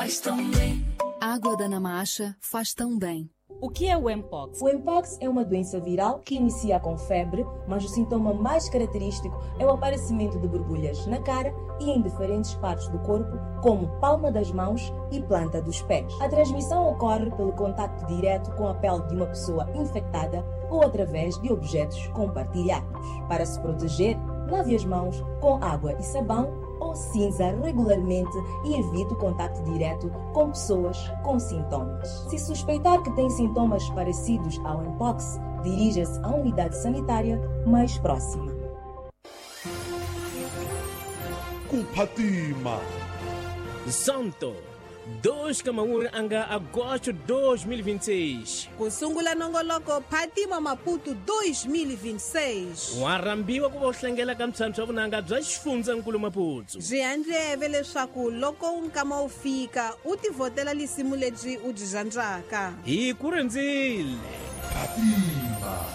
Faz tão bem. Água da Namacha faz tão bem. O que é o Mpox? O Mpox é uma doença viral que inicia com febre, mas o sintoma mais característico é o aparecimento de borbulhas na cara e em diferentes partes do corpo, como palma das mãos e planta dos pés. A transmissão ocorre pelo contato direto com a pele de uma pessoa infectada ou através de objetos compartilhados. Para se proteger, lave as mãos com água e sabão ou cinza regularmente e evite o contato direto com pessoas com sintomas. Se suspeitar que tem sintomas parecidos ao Mpox, dirija-se à unidade sanitária mais próxima. Kuphatima Santo 2 ka anga agosto 2026. Ku sungula nongoloko Phatima Maputo 2026. Wa rhambiwa ku va u hlangela ka mphyamphya wa vunanga bya xifundzankulu Maputo. Byi handleve leswaku loko nkama wu fika u tivhotela lisimu lebyi u byi rhandzaka. Hi ku rindzile. Phatima.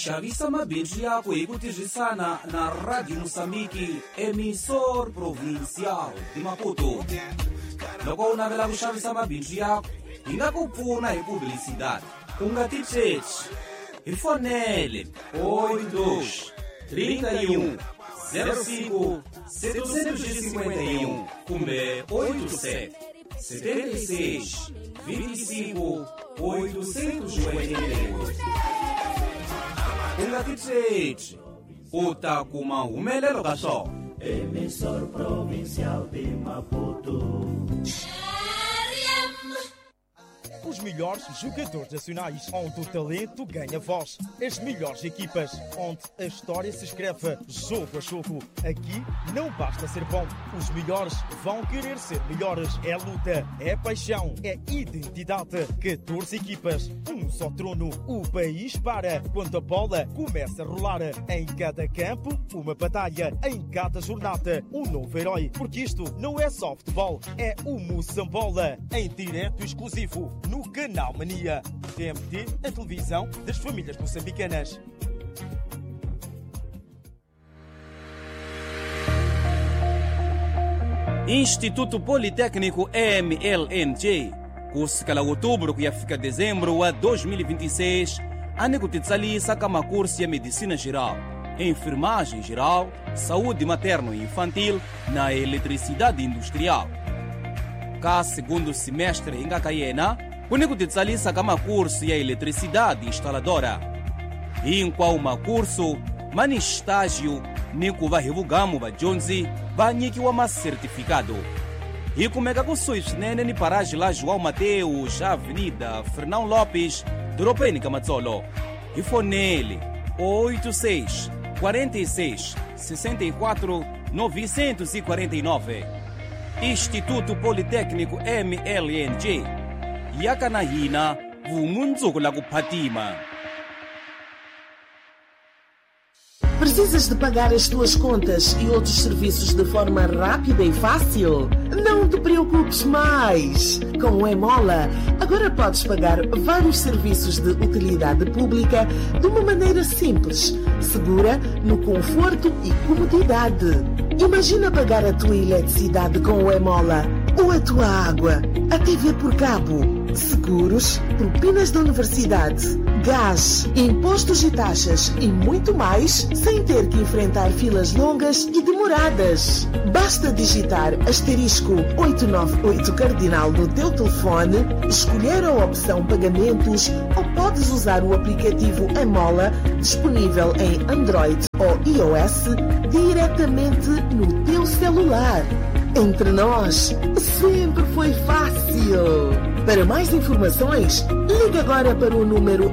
Xavisa mabindzu yako hi ku tirhisana na Radio Moçambique, emissor provincial de Maputo. Loko u navela ku xavisa mabindzu yako, hi nga ku pfuna hi publicidade. U nga tichechi. Hi fonele 82 31 05 751 kumbe 87 76 25 888. U nga tichechi, u ta kuma humelelo ka swona. Emissor Provincial de Maputo. Os melhores jogadores nacionais, onde o talento ganha voz. As melhores equipas, onde a história se escreve jogo a jogo. Aqui não basta ser bom, os melhores vão querer ser melhores. É luta, é paixão, é identidade. 14 equipas, um só trono. O país para quando a bola começa a rolar. Em cada campo, uma batalha. Em cada jornada, um novo herói. Porque isto não é só futebol, é o Moçambola. Em direto exclusivo no Canal Mania. TMT, a televisão das famílias moçambicanas. Instituto Politécnico MLNJ, kusukela outubro kuya fika dezembro wa 2026, ani ku titsalisa ka makursi ya medicina geral, enfermagem geral, saúde materno e infantil na eletricidade industrial. Ka segundo semestre hi nga ka yena, ku ni ku titsalisa ka makursu ya eletricidade instaladora. Hinkwawo makursu ma ni estágio ni ku va hi vugamu vadyondzi va nyikiwa masertifikado. Hi kumeka kusuhi swinene ni paraji la João Mateus, Avenida Fernão Lopes, doropeni ka Matsolo. Hi fonele 86 46 64 949. Instituto Politécnico MLNJ. Yaka na hina vumundzuku la ku phatima. Precisas de pagar as tuas contas e outros serviços de forma rápida e fácil? Não te preocupes mais! Com o Emola, agora podes pagar vários serviços de utilidade pública de uma maneira simples, segura, no conforto e comodidade. Imagina pagar a tua eletricidade com o Emola, ou a tua água, a TV por cabo, seguros, propinas da universidade, gás, impostos e taxas e muito mais, sem ter que enfrentar filas longas e demoradas. Basta digitar asterisco 898 cardinal no teu telefone, escolher a opção pagamentos ou podes usar o aplicativo Emola, disponível em Android ou iOS, diretamente no teu celular. Entre nós, sempre foi fácil. Para mais informações, ligue agora para o número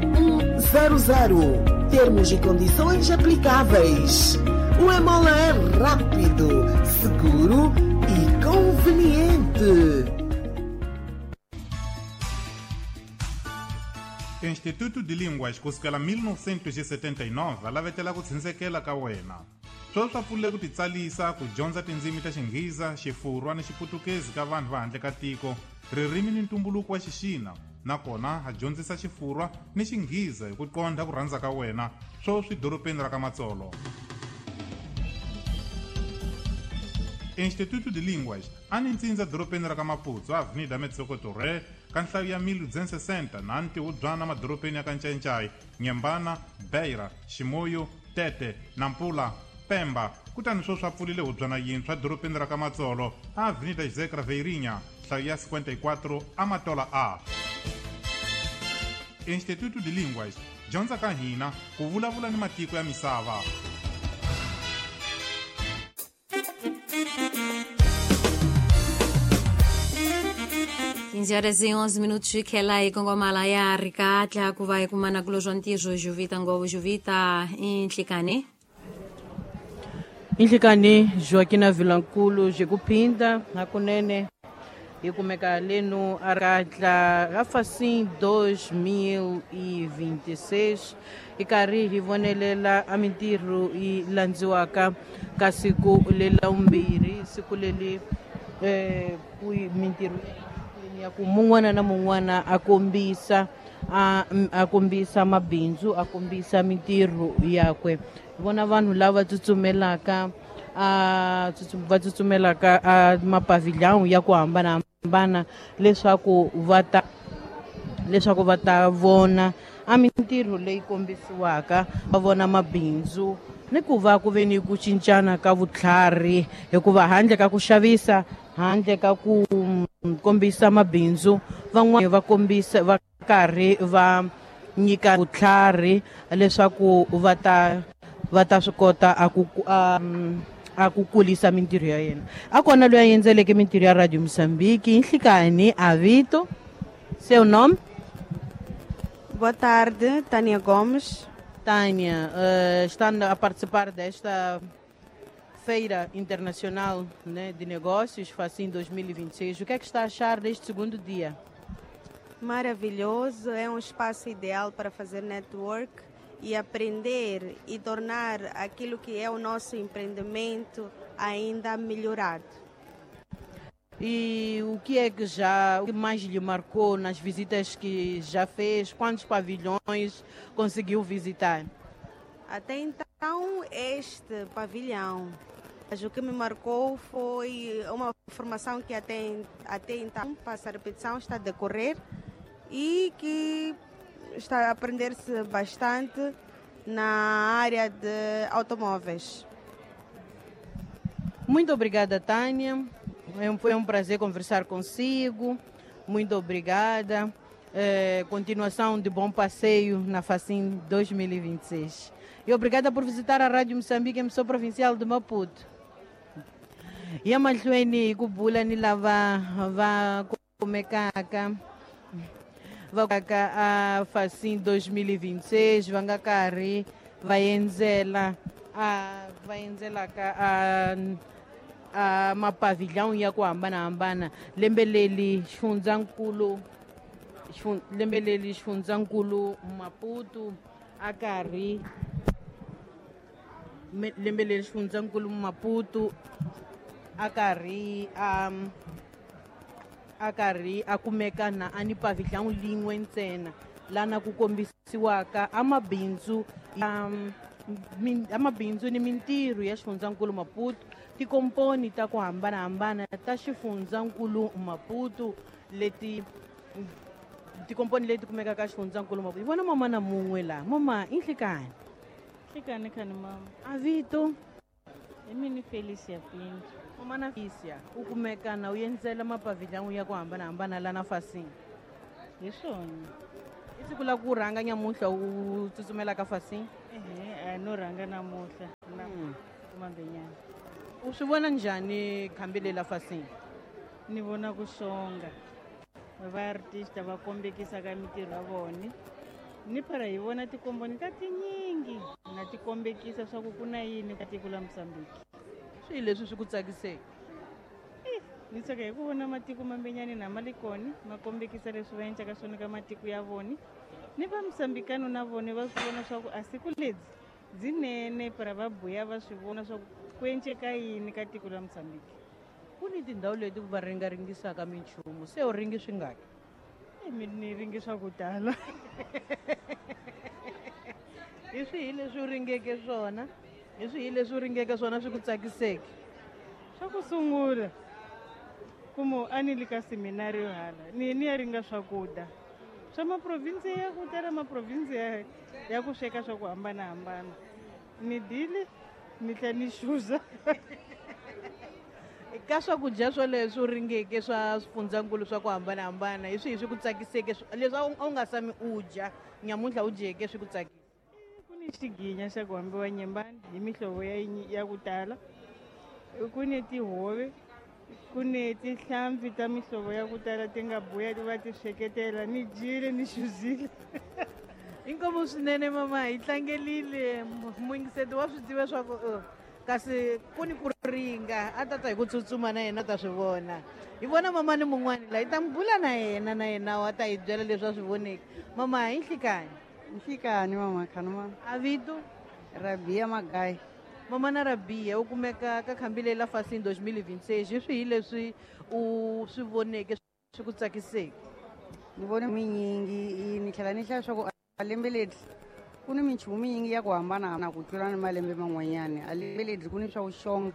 100. Termos e condições aplicáveis. O Emola é rápido, seguro e conveniente. Instituto de Línguas kusukela 1979 a lavetela ku tshindzekela ka wena. Sweswi swa pfulile ku titsalisa ku dyondza tindzimi ta Xinghiza, Xifurwa ni Xiputukezi ka vanhu va handle ka tiko, ririmi ni ntumbuluko wa Xixina, nakona ha dyondzisa Xifurwa ni Xinghiza hi ku qondha ku rhandza ka wena, sweswi doropeni ra ka Matsolo. Instituto de Línguas a ni ntsindza dorobeni ra ka Maputo, Avenida Metsoko Torre, ka nhlayo ya 1260 na ntiwubyana madorobeni ya ka Ncencai, Nyembana, Beira, Chimoio, Tete, Nampula, Pemba. Kutani sweswi a pfulile hubyana yintshwa dorobeni ra ka Matsolo, Avenida José Craveirinha, nhlayo ya 54, Amatola A. Instituto de Línguas, dyondza ka hina ku vulavula ni matiko ya misava. 15 horas e 11 minutos khela ikongomala ya ri katla ku va ikumana kulo swa ntirho juvita ngovo juvita inhlikani. Inhlikani Joaquina Vilankulu Jekupinda hakunene hi kumeka leno a katla a Facim 2026 hi karhi hi vonelela a mintirho yi landziwaka ka siku lela vumbirhi, siku leli ku mintirho ya ku mun'wana na mun'wana a kombisa a kombisa mabindzu, a kombisa mintirho yakwe. Hi vona vanhu lava tsutsumelaka a va tsutsumelaka a mapavilhão ya ku hambanahambana leswaku va ta vona a mintirho leyi kombisiwaka, va vona mabindzu ni ku va ku ve ni ku cincana ka vutlhari, hikuva handle ka ku xavisa, handle ka ku kombisa mabindzu, van'wana va kombisa va karhi va nyika vutlhari leswaku va ta swi kota a ku kulisa mintirho ya yena. A kona loyi a endzeleke mintirho ya Radio Mozambique. Nhlikani, avito, seu nome? Boa tarde, Tânia Gomes. Tânia, está a participar desta Feira Internacional, né, de Negócios, Facim 2026. O que é que está a achar deste segundo dia? Maravilhoso, é um espaço ideal para fazer network e aprender e tornar aquilo que é o nosso empreendimento ainda melhorado. E o que é que já, o que mais lhe marcou nas visitas que já fez? Quantos pavilhões conseguiu visitar? Até então, este pavilhão. Mas o que me marcou foi uma formação que até então, passa a repetição, está a decorrer e que está a aprender-se bastante na área de automóveis. Muito obrigada, Tânia. Foi um prazer conversar consigo. Muito obrigada. Continuação de bom passeio na Facim 2026. E obrigada por visitar a Rádio Moçambique, emissora provincial de Maputo. Ya mahlweni ku bula ni lava va kumekaka va ka a Facim 2026, va nga karhi va endzela a va endzelaka a mapavilhão ya ku hambanahambana. Lembe leli xifundzankulu lembe leli xifundzankulu Maputo a karhi lembe leri xifundzankulu Maputo a karhi a kumeka na a ni pavilhão lin'we ntsena lana ku kombisiwaka amabindzu amabindzu ni mintirho ya xifundzankulu Maputo, tikomponi ta ku hambanahambana ta xifundzankulu Maputo, leti tikomponi leti kumekaka xifundzankulu Maputo. Hi vona mama na mun'we laha. Mama, inhlikani. Nhlikani khani mama. Avito? Hi mini Felicia Pinto. Mama na Felicia, u kumeka na u endzela mapavilhão ya ku hambanahambana lana Facim? Hi swona. I siku la ku rhanga nyamuntlha u tsutsumela ka Facim? Ehe, a no rhanga namuhla na kumambenyana. U swi vona njhani khambi lela Facim? Ni vona ku xonga va artista va kombekisaka mintirho ya vona, ni phela hi vona tikomboni ta tinyingi na ti kombekisa swa ku ku na yini ka tiko la Mozambique. Swihi leswi swi ku tsakiseke? Ni tsaka hi ku vona matiko mambenyani na ma le kona ma kombekisa leswi va endlaka swona ka matiko ya vona, ni va Mosambikano na vona va swi vona swa ku a siku lebyi byinene para va buya va swi vona swa ku ku enceka yini ka tiko la Mozambique. Ku ni tindhawu leti va ringaringisaka minchumu, se u ringi swi ngaki? Mi ni ringi swa ku tala. Hi swihi leswi u ringeke swona? Hi swihi leswi u ringeke swona swi ku tsakiseke? Swa ku sungula kumo a ni le ka seminario hala ni ni ya ringa swakudya swa maprovinsi ya ku tala, maprovinsi ya ku sweka swa ku hambanahambana. Ni dile ni tlhela ni xuza. Ka swakudya swoleswo u ringeke swa swifundzankulu swa ku hambanahambana, hi swihi swi ku tsakiseke leswi a wu nga tshami u dya, nyamuntlha u dyeke swi ku tsakisa? Ku ni xiginya xa ku hambiwa nyembani hi mihlovo ya ku tala, ku ni tihove, ku ni tihlampfi ta mihlovo ya ku tala ti nga buya ti va ti sweketela. Ni dyile ni xuzile. Inkomu swinene mama, hi tlangelile. Muyingiseti wa swi tiva swa ku kasi ku ni ku ringa a tata hi ku tsutsuma na yena ta swi vona. Hi vona mama ni mun'wani la hi ta mi bula na yena, na yena wa ta hi byela leswi a swi voneke. Mama, hi nhlikani. Nhlikani mama khanuma. A vito? Rabia Magai. Mama na Rabia, u kumeka ka khambi leyi la Fasin 2026, hi swihi leswi u swi voneke swi ku tsakiseke? Ni vone minyingi, ni tlhela ni hlaya swa ku a lembe leri ku ni minchumu minyingi ya ku hambana na ku tlula ni malembe man'wanyana. A lembe leri ku ni swa vuxonga,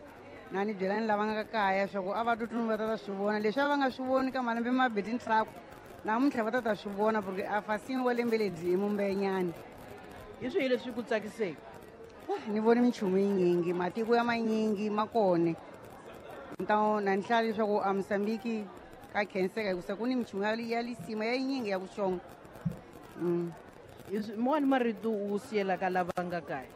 na ni byela ni lava nga kaya swa ku a va tsutsumi va ta ta swi vona leswi a va nga swi voni ka malembe mabedi ntlhaku, namuntlha va ta ta swi vona porque a Fasin wa lembe leri i mumbenyana. Hi swihi leswi ku tsakiseke? Ni vone minchumu yinyingi, matiko ya manyingi ma kone. Na ni hlaya leswaku a Mozambique ka khenseka hikusa ku ni minchumu ya lisima ya yinyingi ya ku xonga. Mona marito u siyelaka lava nga kaya?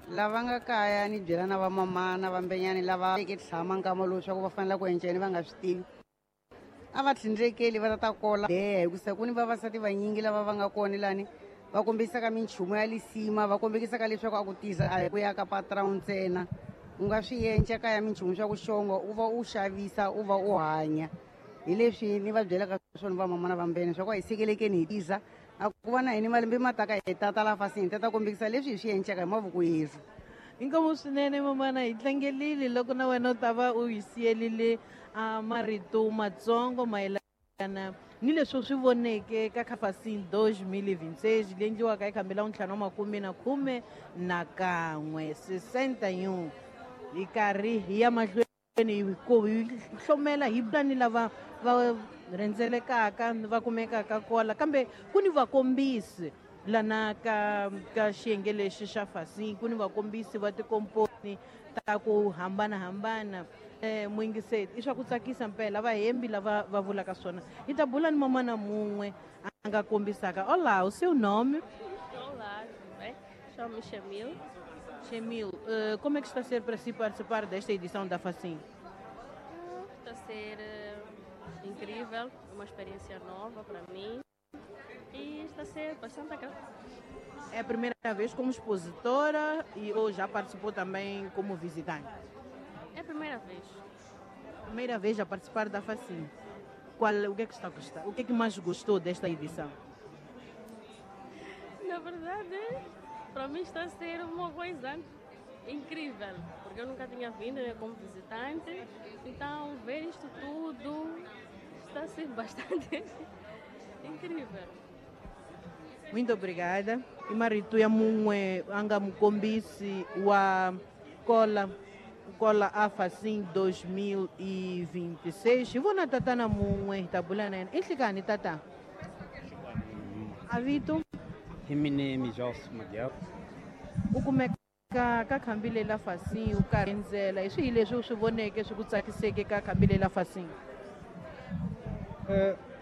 Lava nga kaya ni byela na vamama na vambenyani lava veke tshama nkama lowu swa ku va fanele ku enceni va nga swi tivi. A va tlhindlekeli va ta kola deha hikusa ku ni vavasati vanyingi lava va nga kona lani va kombisaka minchumu ya lisima, va kombisaka leswaku a ku tisa a hi ku ya ka patron ntsena. U nga swi enca kaya minchumu swa ku xonga, u va u xavisa, u va u hanya. Hi leswi ni va byelaka swona vamama na vambene swa ku a hi sekelekeni hi tisa. A ku va na hini malembe ma taka hi tata la Fasin, hi tata kombisa leswi hi swi encaka hi mavoko yerhu. Inkomu swinene mamana, hi tlangelile loko na wena u ta va u hi siyelile a marito matsongo mayelana ni leswi u swi voneke ka Fasin 2026 leyi endliwaka hi khambi la ntlhanu wa makume na khume na kan'we 61. Hi karhi hi ya mahlweni hi hlomela hi ni lava va rhendzelekaka va kumekaka kola, kambe ku ni vakombisi lana ka xiyenge lexi xa Fasin, ku ni vakombisi va tikomponi ta ku hambanahambana. Muyingiseti, i swa ku tsakisa mpela vahembi lava va vulaka swona. Hi ta bula ni mamana mun'we a nga kombisaka. Olá, o seu nome? Olá, tudo bem? Chamo-me Chamil. Chamil, como é que está a ser para si participar desta edição da Fasin? Está a ser incrível, uma experiência nova para mim e está a ser bastante agradável. É a primeira vez como expositora e ou já participou também como visitante? É a primeira vez. Primeira vez a participar da Fasin. O que é que está a gostar? O que é que mais gostou desta edição? Na verdade, para mim está a ser uma coisa incrível, porque eu nunca tinha vindo, né, como visitante, então ver isto tudo está a ser bastante incrível. Muito obrigada. E marito ya mun'we a nga mukombisi wa kola kola a Fasin 2026. Hi vona tatana mun'we hi ta bula na yena. I nhlikani tata? A vito? Hi mine Mijos Madiaw. U kumeka ka khambi leyi la Fasin u karhi endzela. Hi swihi leswi u swi voneke swi ku tsakiseke ka khambi leyi la Fasin?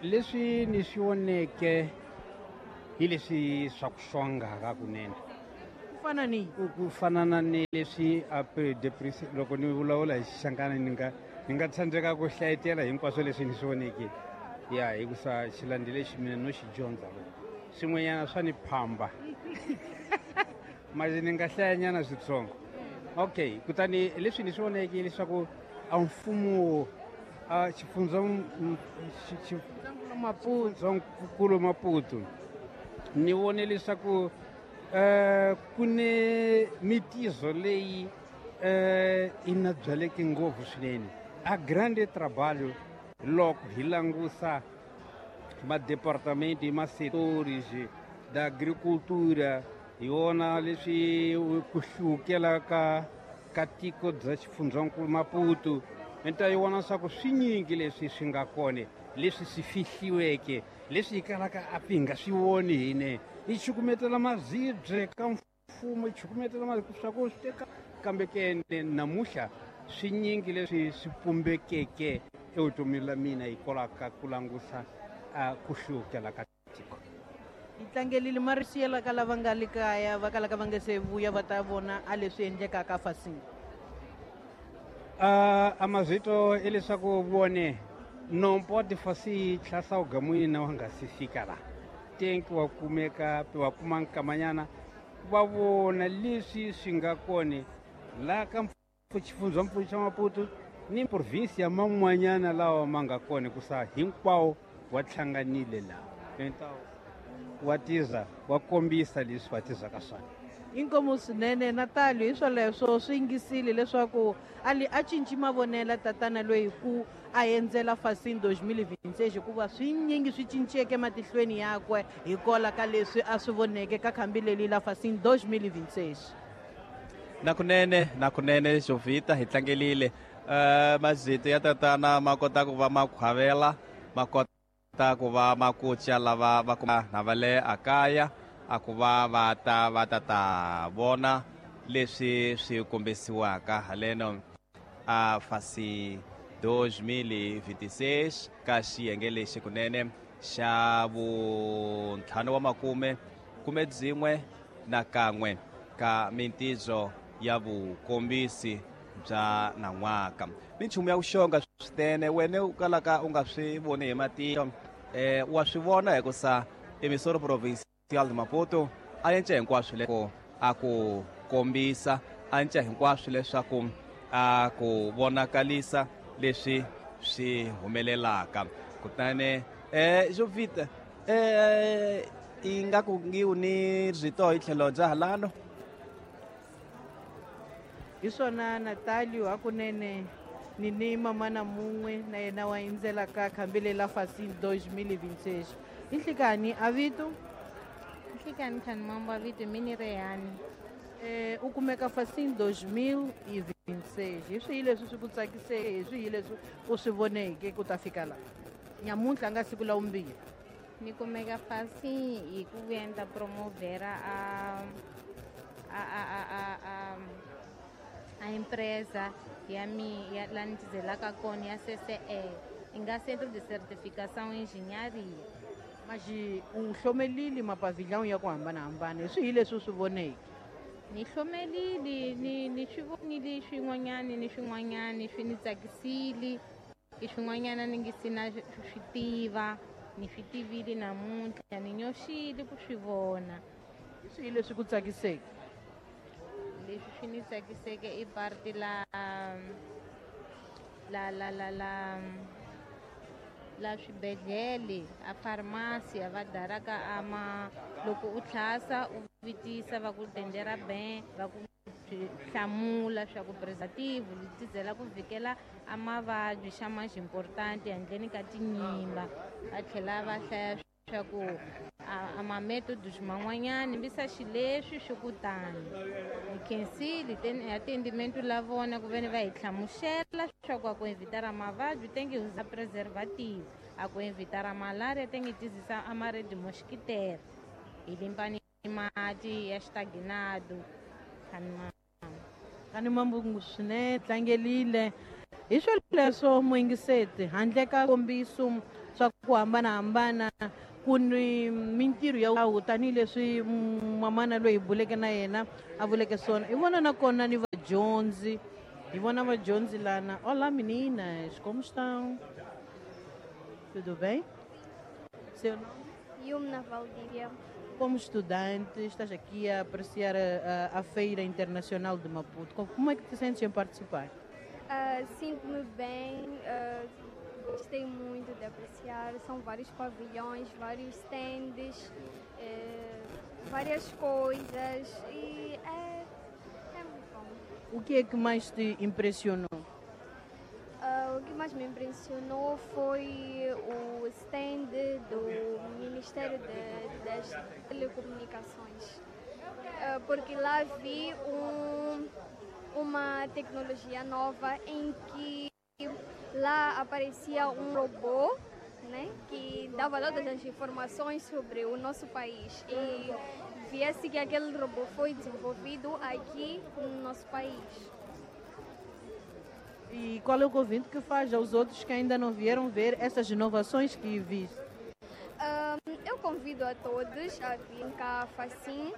Leswi ni swi voneke hi leswi swa ku xonga kunene. Ku fana ni? Ku fana na ni leswi a loko ni vulavula hi Xixangana ni nga tsandzeka ku hlayetela hinkwaswo leswi ni swi voneke. Ya hikusa xilandi lexi mina no xi dyondza swin'wanyana swa ni phamba. Manje ni nga hlayanyana switsongo. Okay, kutani leswi ni swi voneke leswaku a mfumo a xifundzankulu Maputo ni vone leswaku ku ni mitizo leyi i na byaleke ngopfu swinene. A grande trabalho loko hi langusa madepartamento ma setores da agricultura hi wona leswi ku hlukela ka ka tiko bya xifundzankulu Maputo. Mi ta yi vona swa ku swinyingi leswi swi nga kona, leswi swi fihliweke, leswi hi kalaka a hi nga swi voni hine. Hi chukumetela mazibye ka mfumo, hi chukumetela mazibye swa ku swi teka, kambe ke namuntlha swinyingi leswi swi pumbekeke evutomini la mina hikwalaho ka ku langusa a ku hluvukela ka tiko. Hi tlangelile marisiyela ka lava nga le kaya va kalaka va nga se vuya va ta vona a leswi endlekaka fasini. A mazito i leswaku vone nompo tifasi tlhasa ugamwini wa nga si fika la tenki wa kumeka wa kuma nkamanyana va vona leswi swi nga kona la ka xifundzankulu xa Maputo ni provinsi ya man'wanyana lawa ma nga kona ku sa hinkwawo wa hlanganile laha wa tiza wa kombisa leswi va tizaka swona. Inkomu swinene Natalio, hi swoleswo swi yingisile leswaku ali a cinci mavonelo tatana loyi ku a endzela Facim 2026 hikuva swinyingi swi cinceke matihlweni yakwe hikwalaho ka leswi a swi voneke ka khambi leli la Facim 2026. Nakunene Jovita hi tlangelile mazito ya tatana ma kota ku va ma khwavela, ma kota ku va ma kucha lava va kuma na va le akaya a ku va va ta va ta ta vona leswi swi kombisiwaka haleno a Facim 2026 ka xiyenge lexi kunene xa vuntlhanu wa makume kume byin'we na kan'we ka mintidzo ya vukombisi bya nan'waka. Minchumu ya kuxonga swinene wene u kalaka u nga swi voni hi matihlo, wa swi vona hikusa Emissora Provincial de Maputo a endla hinkwaswo leswaku a ku kombisa, a endla hinkwaswo leswaku a ku vonakalisa leswi swi humelelaka. Kutani Jovita i nga ku ngiwu ni rito hi tlhelo bya halano. Hi swona Natalio, hakunene ni ni mamana mun'we na yena wa endzela ka khambi lela Facim 2026. I nhlikani a vito? Nhlikani khani mambo a vito mini Rehani. U kumeka Facim 2026. Hi swihi leswi swi ku tsakiseke, hi swihi leswi u swi voneke ku ta fika laha nyamuntlha nga siku la vumbirhi? Ni kumeka Facim hi ku vuya ni ta promovhera a empresa ya mi ya la ni tizelaka kona ya CCE, i nga Centro de Certificação e Engenharia. Mas u hlomelile mapavilhão ya ku hambanahambana, hi swihi leswi u swi voneke? Ni hlomelile, ni swi vonile swin'wanyani ni swin'wanyani swi ni tsakisile, i swin'wanyana ni nge si na swi tiva, ni swi tivile namuntlha, ni nyoxile ku swi vona. Hi swihi leswi ku tsakiseke? Leswi swi ni tsakiseke i parti la la la la la la swibedhlele, a farmasi va daraka ama loko u tlhasa u vitisa va ku tendera ben va ku hlamula swa ku preservative li tizela ku vhikela a mavabyi xa mais importante handleni ka tinyimba. Va tlhela va hlaya swa ku a mametodos man'wanyani mbisa xileswi swi ku tani. Ni khensile atendimento la vona ku veni va hi hlamusela swa ku a ku evitara mavabyi tenge usa preservative, a ku evitara malaria tenge tizisa a maredi mosquitere hi limpani mati ya xitaginado. Khani mambungu swinene tlangelile. Hi swoleswo muyingiseti, handle ka kombiso swa ku hambanahambana ku ni mintirho ya wu tanihileswi mamana loyi hi buleke na yena a vuleke swona. Hi vona nakona ni vadyondzi, hi vona vadyondzi lana. Olá meninas, como estão? Tudo bem? Seu nome? Yumna Valdívia. Como estudante, estás aqui a apreciar a Feira Internacional de Maputo. Como é que te sentes em participar? Sinto-me bem, gostei muito de apreciar. São vários pavilhões, vários stands, várias coisas e é muito bom. O que é que mais te impressionou? O que mais me impressionou foi o stand do Ministério das Telecomunicações, porque lá vi uma tecnologia nova em que lá aparecia um robô, né, que dava todas as informações sobre o nosso país e viesse que aquele robô foi desenvolvido aqui no nosso país. E qual é o convite que faz aos outros que ainda não vieram ver essas inovações que viste? Eu convido a todos a vir cá à Facim.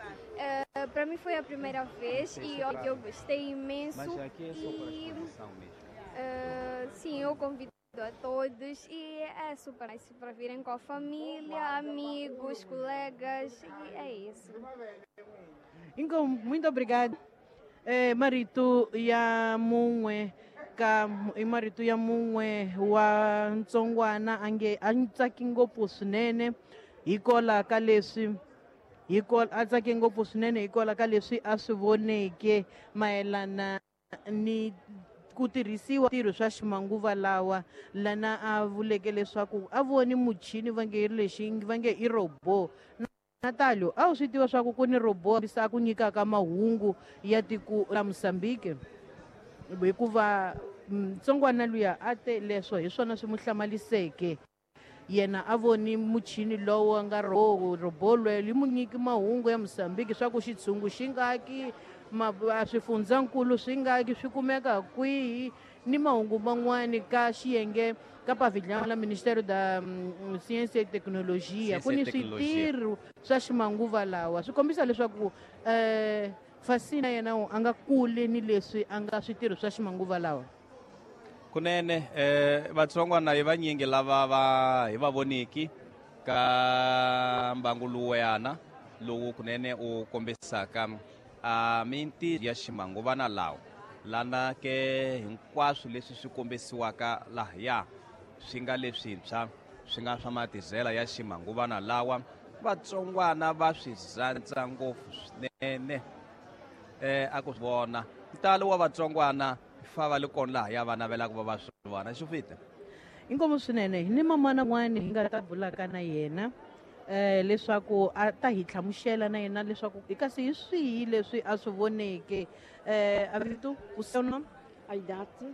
Para mim foi a primeira vez e eu gostei imenso. Mas aqui é só para exposição mesmo. Sim, eu convido a todos e é super nice para virem com a família, amigos, colegas, e é isso. Então, muito obrigada. Marito ya mun'we ka i marito ya mun'we wa ntsongwana ange a tsaki ngopfu swinene hikola ka leswi a tsake ngopfu swinene hikola ka leswi a swi voneke mayelana ni ku tirhisiwa ntirho swa ximanguva lawa lana a vuleke leswaku a voni muchini va nge lexi va nge i robot. Natalio, a wu swi tiva swa ku ku ni robot a ku nyikaka mahungu ya tiko ra Mozambique hikuva ntsongwana luya a te leswo hi swona swi mu hlamaliseke yena a voni muchini lowu nga robot loyi li mu nyiki mahungu ya Mozambique swa ku xitshungu xi ngaki swifundzankulu swi ngaki swi kumeka kwihi ni mahungu man'wani ka xiyenge ka pavilhão la Ministério da Ciência e Tecnologia ku ni switirho swa ximanguva lawa swi kombisa leswaku Facim yena a nga kule ni leswi a nga switirho swa ximanguva lawa. Kunene vatsongwana hi vanyingi lava va hi va voniki ka mbangu luwayana lowu kunene u kombisaka mintirho ya ximanguvana lawa lana ke hinkwaswo leswi swi kombisiwaka lahaya swi nga leswintshwa swi nga swa matizela ya ximanguvana lawa vatsongwana va swi rhandza ngopfu swinene a ku vona ntalo wa vatsongwana fa va le kona lahaya va navelaka va va swi vona xi fita. Inkomu swinene ni mamana n'wani hi nga ta bulaka na yena leswaku a ta hi hlamusela na yena leswaku kasi hi swihi leswi a swi voneke. Avito, o seu nome? A idade.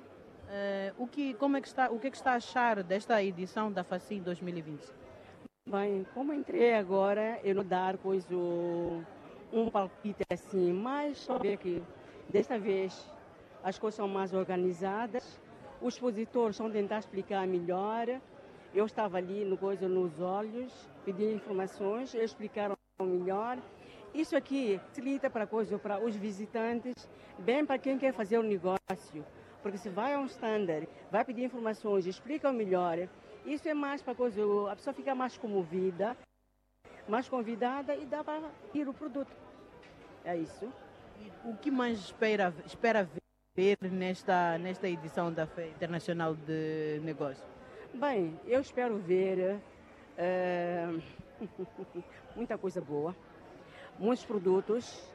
Como é que está, o que é que está a achar desta edição da Facim 2020? Bem, como entrei agora, eu não dar coisa um palpite assim, mas só ver que desta vez as coisas são mais organizadas, os expositores estão a tentar explicar melhor. Eu estava ali no coisa nos olhos, pedi informações, eles explicaram melhor. Isso aqui facilita para coisa para os visitantes, bem para quem quer fazer um negócio, porque se vai a um standard, vai pedir informações, explica melhor. Isso é mais para coisa, a pessoa fica mais comovida, mais convidada e dá para ir o produto. É isso. E o que mais espera ver nesta edição da Feira Internacional de Negócios? Bem, eu espero ver muita coisa boa, muitos produtos,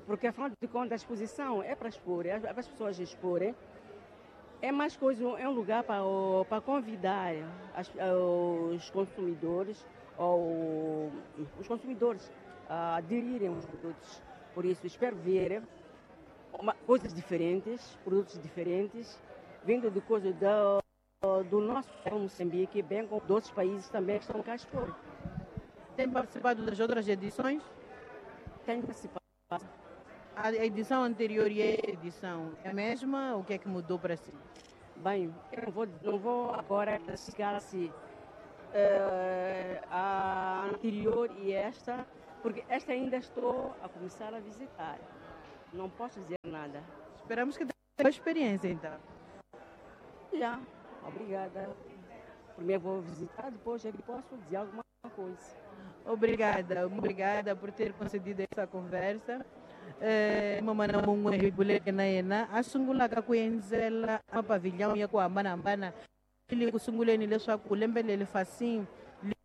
porque afinal de contas a exposição é para expor, é para as pessoas exporem. É mais coisa, é um lugar para convidar os consumidores ou os consumidores a aderirem aos produtos. Por isso, espero ver coisas diferentes, produtos diferentes, vindo de coisas do nosso Moçambique, bem como de outros países também que estão cá a expor. Tem participado das outras edições? Tenho participado. A edição anterior e a edição é a mesma? O que é que mudou para si? Bem, eu não vou agora classificar se a anterior e esta, porque esta ainda estou a começar a visitar. Não posso dizer nada. Esperamos que tenha uma experiência, então. Já, obrigada. Primeiro vou visitar, depois é que posso dizer alguma coisa. Obrigada, obrigada por ter concedido essa conversa. Mamana mun'we hi buleke na yena a sungulaka ku endzela mapavilhão ya ku hambanahambana le ku sunguleni leswaku lembe leri Facim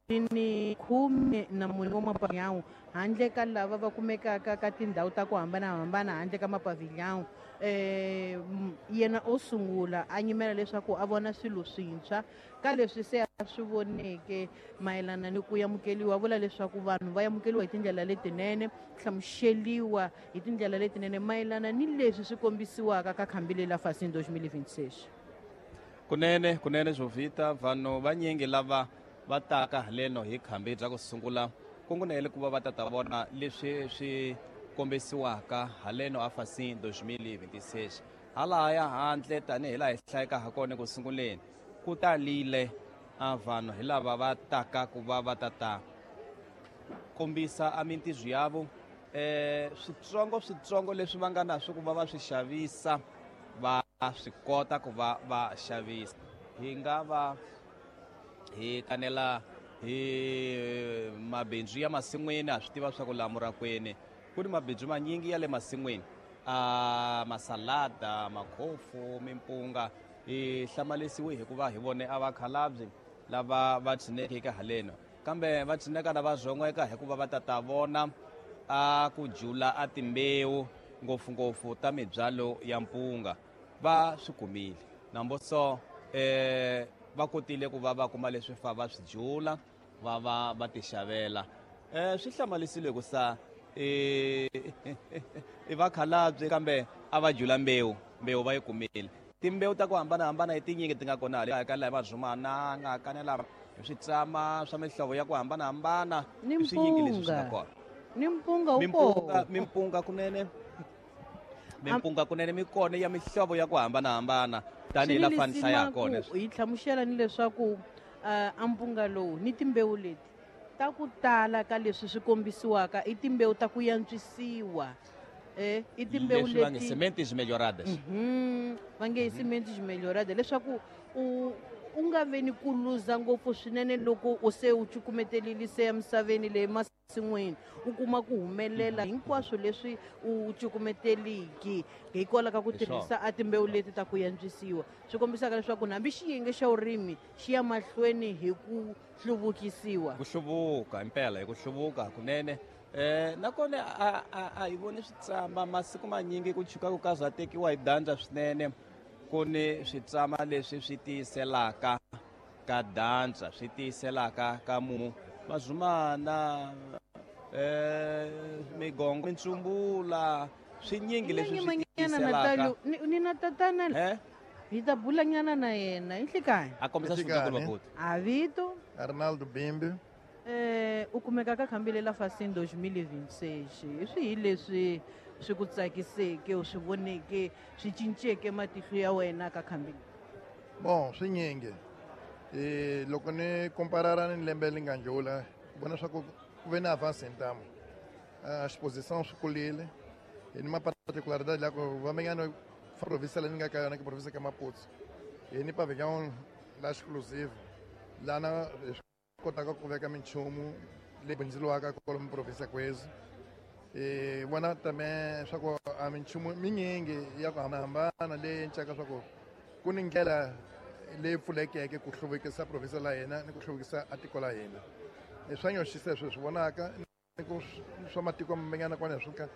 ri ni 14 wa mapavilhão handle ka lava va kumekaka ka tindhawu ta ku hambanahambana handle ka mapavilhão. Yena o sungula a nyimela leswaku a vona swilo swintshwa ka leswi se a swi voneke mayelana ni ku amukeliwa. Vula leswaku vanhu va amukeliwa hi tindlela letinene, hlamuseliwa hi tindlela letinene mayelana ni leswi swi kombisiwaka ka khambi leri la Fasin 2026. Kunene Jovita, vanhu vanyingi lava va taka haleno hi khambi bya ku sungula kungunele ku va va ta vona leswi swi kombisiwaka haleno a Fasin 2026. Halahaya handle tanihi laha hi hlayeka ha kona ku sunguleni ku talile a vanhu hi lava va taka ku va va ta kombisa a mintirho yavo, switsongo leswi va nga na swo ku va va swi xavisa, va swi kota ku va va xavisa. Hi nga va hi kanela hi mabindzu ya masin'wini, a swi tiva swa ku laha Murakwini ku ni mabindzu manyingi ya le masin'wini, a masalada, makhofu, mimpunga. Hi hlamalisiwe hikuva hi vone a vakhalabye lava va tshineke haleno, kambe va tshineka na va zon'weka hikuva va ta vona a ku jula a timbewu ngopfungopfu ta mibyalo ya mpunga. Va swi kumile namboso, va kotile ku va va kuma leswi fa va swi jula va va va tixavela. Swi hlamarisile ku sa i vakhalabye kambe a va jula mbewu va yi kumile. Timbewu ta ku hambanahambana hi tinyingi ti nga kona hala ka laha Mazumana nga kanela switsama swa mihlovo ya ku hambanahambana, swinyingi leswi swi nga kona. Ni mpunga wu kona. Mimpunga kunene mikona ya mihlovo ya ku hambanahambana tanihi la fani hlaya kona. Hi hlamusela ni leswaku a mpunga lowu ni timbewu leti ta ku tala ka leswi swi kombisiwaka i timbewu ta ku yantswisiwa. I timbewu leti va nge sementes melhoradas. Va nge sementes melhoradas leswaku u nga ve ni ku luza ngopfu swinene loko u se u cukumetelile se emisaveni leyi masin'wini, u kuma ku humelela hinkwaswo leswi u cukumeteliki hikwalaho ka ku tirhisa a timbewu leti ta ku yantswisiwa. Swi kombisaka leswaku hambi xiyenge xa vurimi xi ya mahlweni hi ku hluvukisiwa. Ku hluvuka impela, hi ku hluvuka kunene. Nakona a hi voni switsama masiku manyingi ku chuka ku ka zwa tekiwa hi dyandza swinene. Ku ni switsama leswi swi tiyiselaka ka dyandza, swi tiyiselaka ka mumu, Mazumana, migongo, mintsumbula, swinyingi leswi swi tiyiselaka. Ni na tatana hi ta bulanyana na yena hi nhlikani. A kombisa swivundza ku a vito Arnaldo Bimbi. U kumeka ka khambi leri la Fasin 2026. Hi swihi leswi swi ku tsakiseke, u swi voneke, swi cinceke matihlo ya wena ka khambi? Bon, swinyingi. Loko ni komparara ni lembe leri nga ndlula, ku vona swa ku ku ve na avance hi ntamu. Exposition swi kulile. Hi ni ma-particularidade la ku vamenyana province leyi ni nga ka yona ke province ka Maputo. Hi ni pavillon la exclusive lana hi swi kotaka ku veka minchumu leyi bindzuriwaka kwalomu province kwezi. Vona tame swa ku a minchumu minyingi ya ku hambanahambana leyi encaka swa ku ku ni ndlela leyi pfulekeke ku hluvukisa province la hina ni ku hluvukisa a tiko la hina. Swa nyoxisa leswi swi vonaka ni ku swa matiko manyana kwana swi ka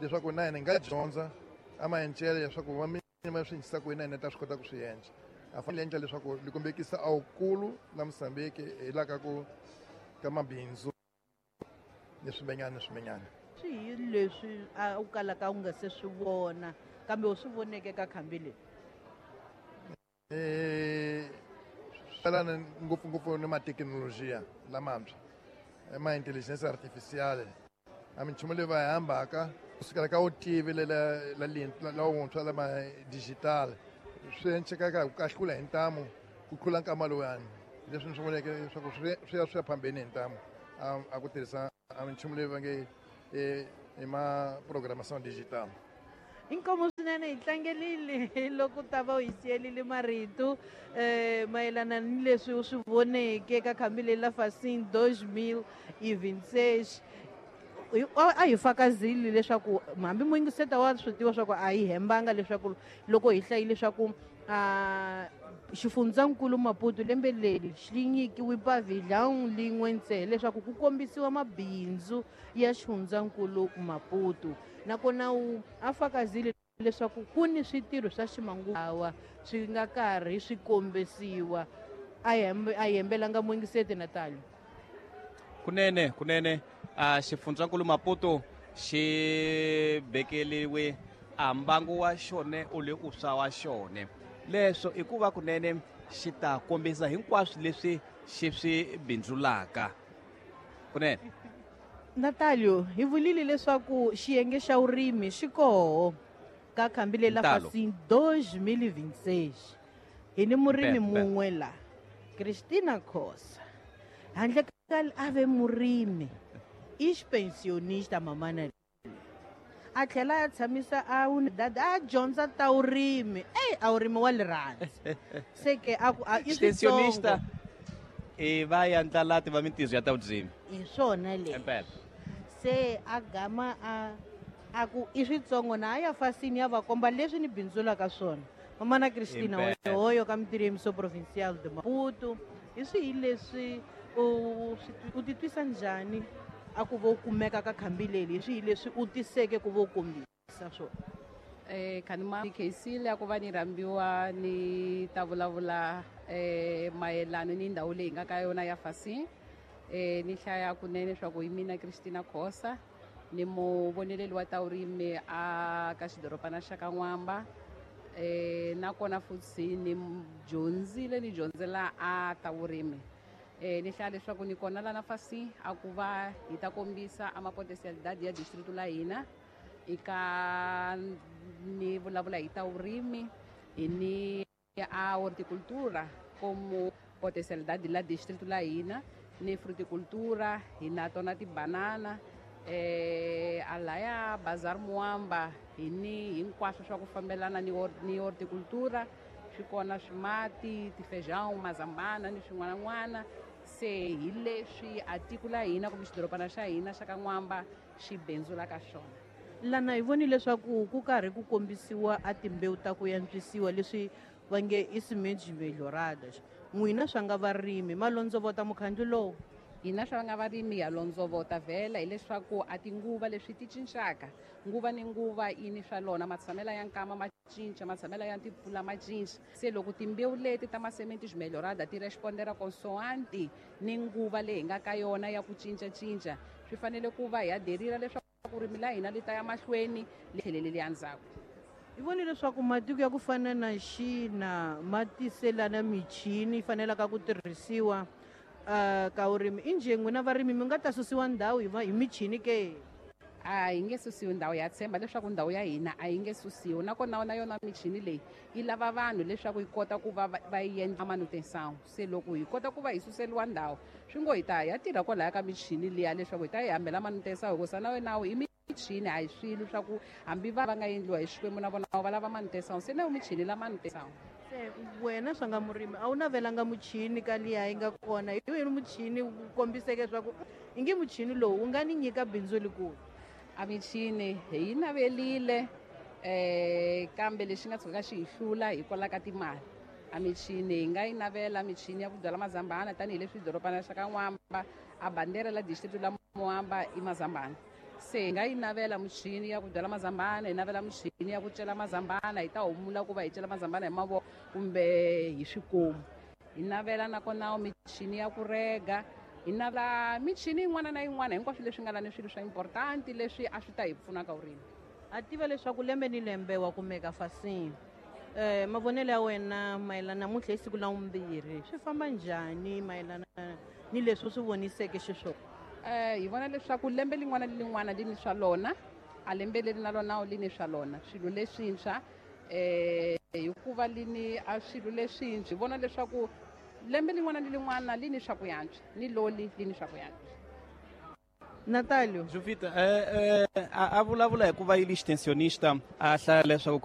leswaku na hina hi nga dyondza a maencele leswaku va va swi endlisa ku yini na hina ta swi kota ku swi endla. A fanele endla leswaku li kombekisa a wukulu la Mozambique hi la ka ku ka mabindzu ni swimenyana ni swimenyana. Swihi leswi a u kalaka u nga se swi vona kambe u swi voneke ka khambi leri? Swelana ngopfungopfu ni mathekinolojiya lamantshwa, ma intelligence artificial, a minchumu leyi va yi hambaka kusukela ka vutivi la wuntshwa lama digital swi encekaka ku kahlula hi ntamu ku tlula nkama lowuyani. Leswi ni swi voneke leswaku swi ya swi ya phambeni hi ntamu a ku tirhisa a minchumu leyi va nge i ma programmation digital. Inkomo swinene hi tlangelile loko ta va u hi siyelile marito mayelana ni leswi u swi voneke ka khambi leri la Fasin 2026. A hi fakazile leswaku hambi muyingiseta wa swi tiva swa ku a hi hembanga leswaku loko hi hlayile leswaku Xifundzankulu Maputo lembe leri xi nyikiwe pavilhão lin'we ntsena leswaku ku kombisiwa mabindzu ya xifundzankulu Maputo. Nakona u a fakazile leswaku ku ni switirho swa ximanguva swi nga karhi swi kombisiwa. A hembelanga muyingiseti Natalio. Kunene a xifundzankulu Maputo xi bekeliwe a mbangu wa xone u le u swa wa xone. Leswo i ku va kunene xi ta kombisa hinkwaswo leswi xi swi bindzulaka. Kunene Natalio, hi vulile leswaku xiyenge xa vurimi xi koho ka khambi leri la Fasin 2026. Hi ni murimi mun'we la, Christina Khosa. Handle ka a ve murimi, i xipensionista mamana. A tlhela a tshamisa a dada a dyondza ta vurimi. Ey, a vurimi wa rirhandzu. Se ke a ku a i Pensionista i va ya ndlalati va mintirho ya ta vurimi. Hi swona leswi. Se a gama a ku i switsongo na a ya Fasini ya va komba leswi ni bindzulaka swona. Mamana Christina hoyo ka mintirho ya Provincial de Maputo. Hi swihi leswi u titwisa njhani a ku vo kumeka ka khambi leri? Hi swihi leswi u tiseke ku vo kombisa swona? Khanima khensile a ku va ni rhambiwa ni ta vulavula mayelana ni ndhawu leyi nga ka yona ya Fasin. Ni hlaya kunene swa ku hi mina Christina Khosa, ni muvoneleli wa ta vurimi a ka xidorobana xa ka N'wamba. Nakona futhi ni dyondzile ni dyondzela a ta vurimi. Ni hlaya leswaku ni kona lana Fasin a ku va hi ta kombisa a mapotensialidade ya district la hina. Eka ni vulavula hi ta vurimi, hi ni a horticultura como potencialidade la distrito la hina, ni fruticultura, hi na tona tibanana, a laya Bazar Muamba, hi ni hinkwaswo swa ku fambelana ni horticultura, swi kona swimati, tifejão, mazambana ni swin'wanan'wana. Se hi leswi a tiko la hina kumbe xidorobana xa hina xa ka N'wamba xi bindzulaka xona. Lana hi vonile leswaku ku karhi ku kombisiwa a timbewu ta ku antswisiwa leswi va nge i sementes melhoradas. N'wina swa nga varimi ma londzovota mukhandlu lowu? Hina swa nga varimi ya londzovota vhela hileswaku a tinguva leswi ti cincaka, nguva ni nguva yi ni swa lona, matshamela ya nkama ma cinca, matshamela ya timpfula ma cinca. Se loko timbewu leti ta masementes melhorada ti respondera consoante ni nguva leyi hi nga ka yona ya ku cincacinca, swi fanele ku va hi aderira leswaku vurimi la hina li ta ya mahlweni li tlheleli le ndzhaku. Hi vonile leswaku matiko ya ku fana na China ma tiselana michini yi fanelaka ku tirhisiwa ka vurimi. Injhe n'wina varimi mi nga ta susiwa ndhawu hi michini ke? A yi nge susiwi ndhawu, ya tshemba leswaku ndhawu ya hina a yi nge susiwi. Nakona na yona michini leyi yi lava vanhu leswaku yi kota ku va va yi endla manutenção. Se loko hi kota ku va hi suseliwa ndhawu, swi ngo hi ta ya tirha kwalaya ka michini liya leswaku hi ta yi hambela manutenção, hikusa na wena i michini a hi swilo swa ku hambi va nga endliwa hi Xikwembu na vona va lava manutenção. Se na michini la manutenção. Se wena swa nga murimi a wu navelanga muchini ka liya yi nga kona, hi wena muchini wu kombiseke swa ku i nge muchini lowu wu nga ni nyika bindzu likulu. A michini hi yi navelile, kambe lexi nga tshuka xi hi hlula hikwalaho ka timali. A michini hi nga yi navela michini ya ku byala mazambhana tanihileswi dorobana xa ka N'wamba a bandera la district la Muamba i mazambhana. Se hi nga yi navela michini ya ku byala mazambhana, hi navela michini ya ku cela mazambhana, hi ta humula ku va hi cela mazambhana hi mavoko kumbe hi swikomu. Hi navela nakona michini ya ku rega, hi navela michini yin'wana na yin'wana, hinkwaswo leswi nga lani swilo swa important leswi a swi ta hi pfuna ka vurimi. A tiva leswaku lembe ni lembe wa kumeka Fasin. Mavonelo ya wena mayelana namuntlha hi siku la vumbirhi swi famba njhani mayelana ni leswi u swi voniseke xiswona? Hi vona leswaku lembe lin'wana ni lin'wana li ni swa lona, a lembe leri na lona li ni swa lona swilo leswintshwa, hikuva li ni a swilo leswintshwa. Hi vona leswaku lembe lin'wana ni lin'wana li ni swa ku yantswa, ni loli li ni swa ku yantswa. Natalio. Jovita, a vulavula hi ku va yi li extensionista, a hlaya leswaku